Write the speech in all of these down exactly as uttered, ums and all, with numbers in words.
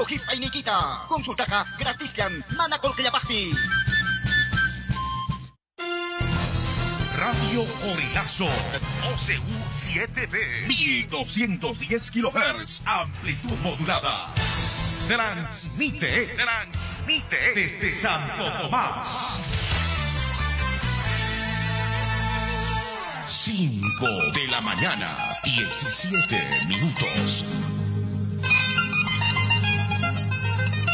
hisp'ayniykita. Consultaqa gratisllan mana qullqillapaqmi. Radio Corilazo, O C U siete B, mil doscientos diez kilohertz, amplitud modulada. Transmite, transmite desde Santo Tomás. Cinco de la mañana, diecisiete minutos.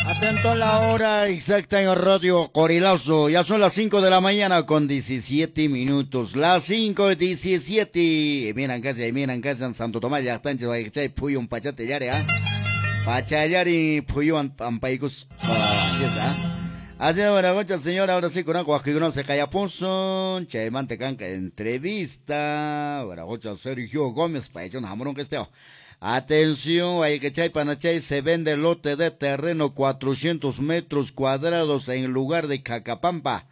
Atento a la hora exacta en Radio Corilazo. Ya son las cinco de la mañana con diecisiete minutos. Las cinco diecisiete. Miran casi, miran casi en Santo Tomás, ya están, chay, puyun pachate yare, ¿ah? Pachayari, puyun ampaicus. Así es, ¿ah? Así es, bueno, muchas señora, ahora sí, con agua, que no se calla punzón. Chaymante canca entrevista. Bueno, muchas Sergio Gómez, payón, jamón que esté. Atención, hay que chay panachay, se vende lote de terreno cuatrocientos metros cuadrados en lugar de Cacapampa.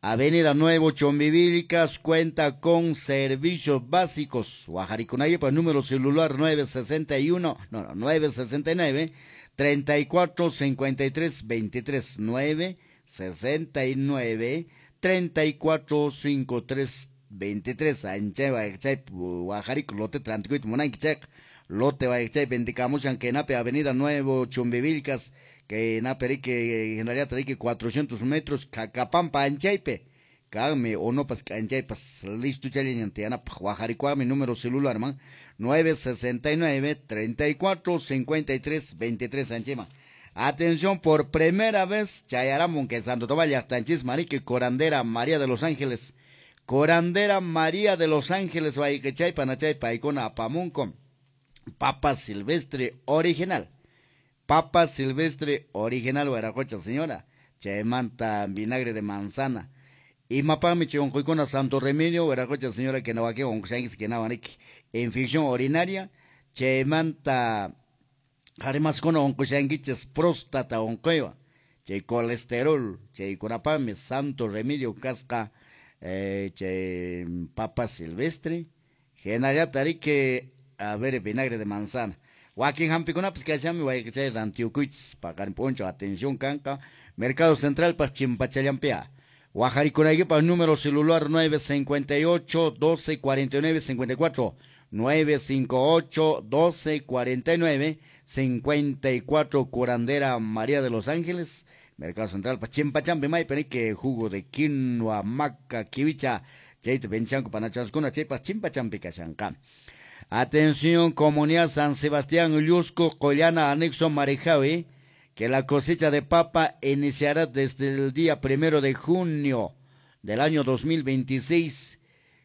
Avenida Nuevo Chumbivilcas, cuenta con servicios básicos. Guajaricunayipa, número celular nueve sesenta y uno, no, no, nueve sesenta y nueve, treinta y cuatro, cincuenta y tres, veintitrés, nueve sesenta y nueve, treinta y cuatro, cinco tres, veintitrés. Anchay, guajachay, Guajarico, lote tranticuit, monanquichec. Lote Baixay, Vendicamusan, Kenape, Avenida Nuevo Chumbivilcas, Kenape, que en realidad que cuatrocientos metros, Cacapampa, Anchaype, Kame, Onopas, Anchaypas, listo, Chaliñantiana, Guajaricuame, número celular, man, nueve sesenta y nueve, treinta y cuatro, cincuenta y tres, veintitrés, Anchema. Atención, por primera vez, Chayaramon, que Santo Tomás, Yachtanchis, Marique, Corandera, María de los Ángeles, Corandera, María de los Ángeles, Baikechay, Panachay, Paicona, Apamunco. Papa silvestre original. Papa silvestre original, Guaracocha, señora. Chaymanta, vinagre de manzana. Y mapami choncoicona Santo Remedio, Guaracocha, señora, que no va que que no infección urinaria. Chaymanta, jarimascono oncoxanguiches, próstata oncoiva. Chay colesterol, chayconapami, Santo Remedio, casca, eh, chay papa silvestre. Genayatarique. A ver, vinagre de manzana. Joaquín Jampicuna, pues que allá me voy a que Antioquich, pagar poncho, atención, canca. Mercado Central, pa Chimpachallampea. Guajaricunaguipa, número celular nueve cincuenta y ocho, doce cuarenta y nueve, cincuenta y cuatro. nueve cinco ocho, doce cuarenta y nueve, cincuenta y cuatro, Curandera María de los Ángeles. Mercado Central, pa Chimpachampe, may, que jugo de quinoa, maca, kiwicha, chayte, benchanco, panachascuna, chaypa, Chimpachampe, cachanca. Atención, comunidad San Sebastián, Llusco, Collana, anexo Marejavi, que la cosecha de papa iniciará desde el día primero de junio del año dos mil veintiséis.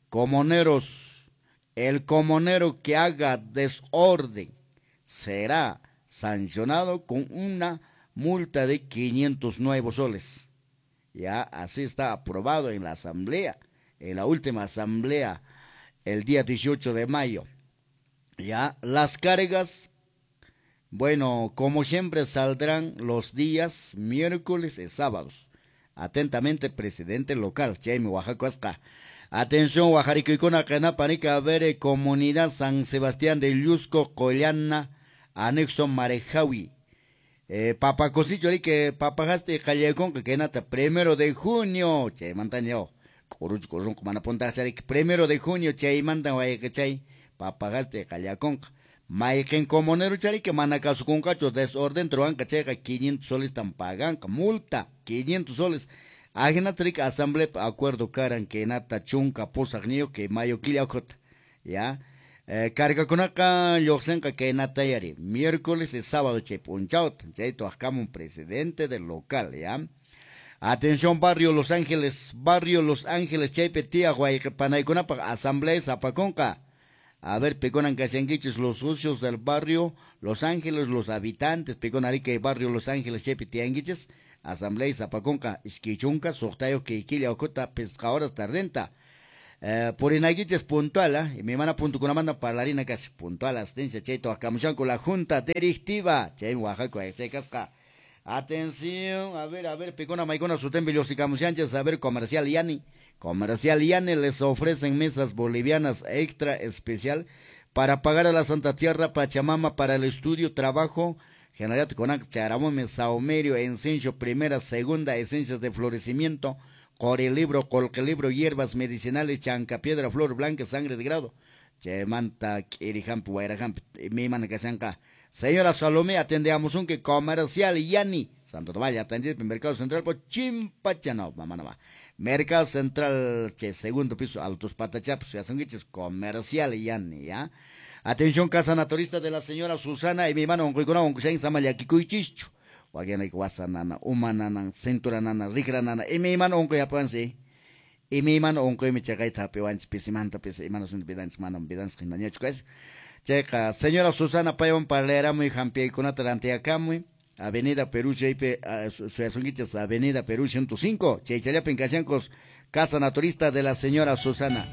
Comuneros, el comunero que haga desorden será sancionado con una multa de quinientos nuevos soles. Ya así está aprobado en la asamblea, en la última asamblea, el día dieciocho de mayo. Ya, las cargas, bueno, como siempre saldrán los días miércoles y sábados. Atentamente, presidente local, Jaime Oaxaca. Atención, Guajarico, Canapanica, Vere, Comunidad San Sebastián de Llusco, Collana, anexo Marejawi. Eh, Papacosillo, que papajaste, Callecón, que nata, primero de junio, che, mantaño, Coruch, Corunco, manaponta, primero de junio, che, mantan, guayachay. Papagaste Callaconca. Maiken comunero chari que manacasucuncacho desorden truanca checa quinientos soles tan paganca multa quinientos soles. Ajena tric asamblea acuerdo caran que nata chunca posagniyo que mayo quillacota. Ya. Eh, carga conaca yoxenca que nata yari miércoles y sábado che punchaut chaito un presidente del local ya. Atención, barrio Los Ángeles, barrio Los Ángeles chaype tía guaypanaycunapa asamblea zapaconca. A ver, peconan cachanguiches, los socios del barrio Los Ángeles, los habitantes, pecon arica y barrio Los Ángeles, chepe tianguiches, asamblea y zapaconca, isquichunca, sohtayo, queiquilla, ocota, pescadoras, tardenta. Eh, por inaguiches puntual, ¿eh? Y mi hermana punto con la manda parlarina casi puntual, asistencia, cheito, acamuchan con la junta directiva, che, en Oaxaca, che, casca. Atención, a ver, a ver, pecona, maicona, sutembe, los y camuchanches, a ver, comercial Yani. Comercial Yani les ofrecen mesas bolivianas extra especial para pagar a la Santa Tierra Pachamama para el estudio, trabajo, General kunan charamumi saumerio, encenso, primera, segunda, esencias de florecimiento, libro, libro, hierbas medicinales, chanca piedra, flor blanca, sangre de grado. Chaymanta k'irihampi wayrahampi imaymana kashanqa. Señora Salomé, atendemos un que comercial Yani Santo Tomás, atendido Mercado Central por Chimpacha, no, mamá no va. Mercado Central, che, segundo piso, Altos Patachapos, ya son comercial Yani, ya. Atención, casa naturista de la señora Susana y mi hermano, onquykunawan, wakinayki wasa nana, uma nana, cintura nana, rikra nana, imaymana unquy apansi. Imaymana unquymi chaqayta hapiwanchis pisimanta pisi, imana sunti vidanchis, manam vidanchis hinañachu kashan. Chayqa, señora Susana paywan parlaramuy, hampiykunata rantiyakamuy, Avenida Perú, chaypi suyasunkichis, Avenida Perú ciento cinco, chaychallapin kashankos, casa naturista de la señora Susana.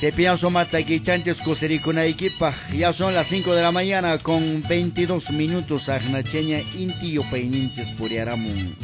Chaypiyan sumata kichanchis kusirikunaykipaq. Ya son las cinco de la mañana con veintidós minutos. Aqnacheña inti yupayninchis puriaramun.